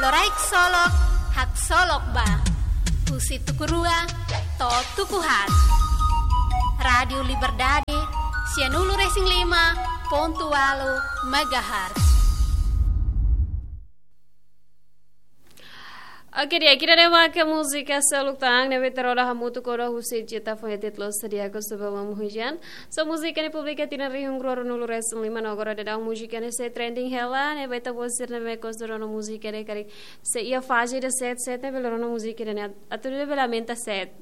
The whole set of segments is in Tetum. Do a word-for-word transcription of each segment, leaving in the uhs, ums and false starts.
Loraik Solok, haksolok ba. Husi tuku rua to'o tuku haat. Rádiu Liberdade, sianulu-resin-lima pontu ualu megahertz. Oke, di'ak, ida-ne'e maka múzika seluk tan ne'ebé ita rona hamutuk ona husi Jita Foetit Los Sadia Ko Sebelum Hujan. So, múzika ne'e publika tinan rihun rua ruanulu-resin-lima no agora daudaun múzika ne'e sei trending hela, ne'ebé ita-boot sira ne'ebé gosta rona múzika ne'e karik sei iha faze ida sete sete ne'e bele rona múzika ne'e atu ne'e bele aumenta sete.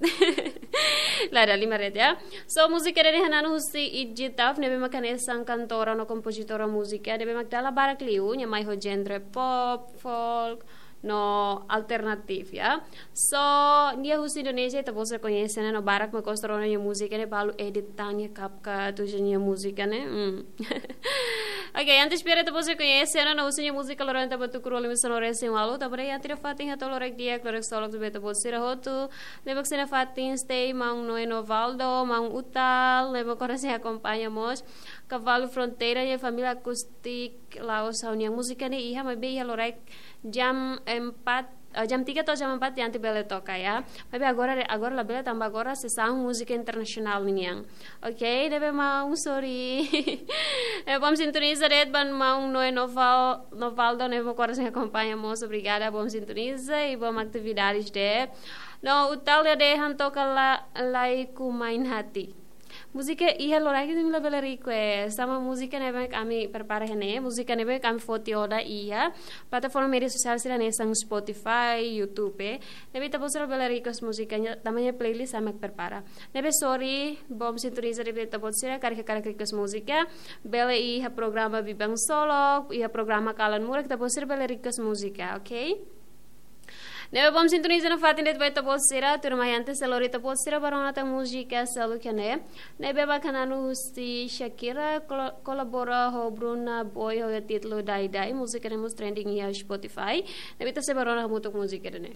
Lae, dala ruma de'it, ya. So, múzika ne'e hananu husi Iggy Tuff, ne'ebé maka hanesan kantora no kompozitora múzika, ne'ebé maka dala barak liu, nia mai ho genre pop, folk, no alternatif, ya. So, nia husi Indonézia, ita-boot sira koñese ona, no barak mak gosta rona nia múzika ne'e, balu edit tan nia CapCut, uza nia múzika ne'e. Hmm. Oke, antes para ita-boot sira koñese ona, no husi nia múzika loron ita bá tuku rua limasonu-resin-ualu, tanba ne'e iha tiha fatin hato'o loraik di'ak, loraik solok ba ita-boot sira hotu, ne'ebé maka iha fatin stay, maun Noe Novaldo, maun Utal, ne'ebé maka sei akompaña mós, Kavalu Fronteira, nia família Akustik Laos, ha'u-nia múzika ne'e iha, maibé iha loraik jam empat, eh, jam tiga to'o jam empat diante bele toka, ya. Maibé agora, agora labele tanba agora sezon múzika internasionál ninian. Oke, ne'ebé maun, sorry. Eh, bom sintoniza de'it ba maun Noe Noval-, Novaldo, ne'ebé maka sei akompaña mós, obrigada, bom sintoniza i bom atividades de'it. No, Utal dehan toka la, Laiku Main Hati. Múzika iha loraik ne'e labele request. Sama múzika ne'ebé ami prepara iha ne'e, múzika ne'ebé ami foti ona iha plataforma média sosiál sira hanesan Spotify, YouTube. Ne'ebé ita-boot sira bele request múzika ne'e, tanba nia playlist ami prepara. Ne'ebé sorry, bom sintoniza de'it ba ita-boot sira, karik, karik request múzika, bele iha programa Biban Solok, iha programa Kalan Murak, ita-boot sira bele request múzika, oke? Ne'ebé bom sintoniza nafatin de'it ba ita-boot sira, tuirmai antes ha'u lori ita-boot sira bá rona tan múzika seluk iha ne'e. Ne'ebé maka hananu husi Shakira, kolo-, kolabora ho Burna Boy ho títulu Dai Dai, múzika ne'e mós trending iha Spotify. Ne'ebé ita sei bá rona hamutuk múzika ida-ne'e.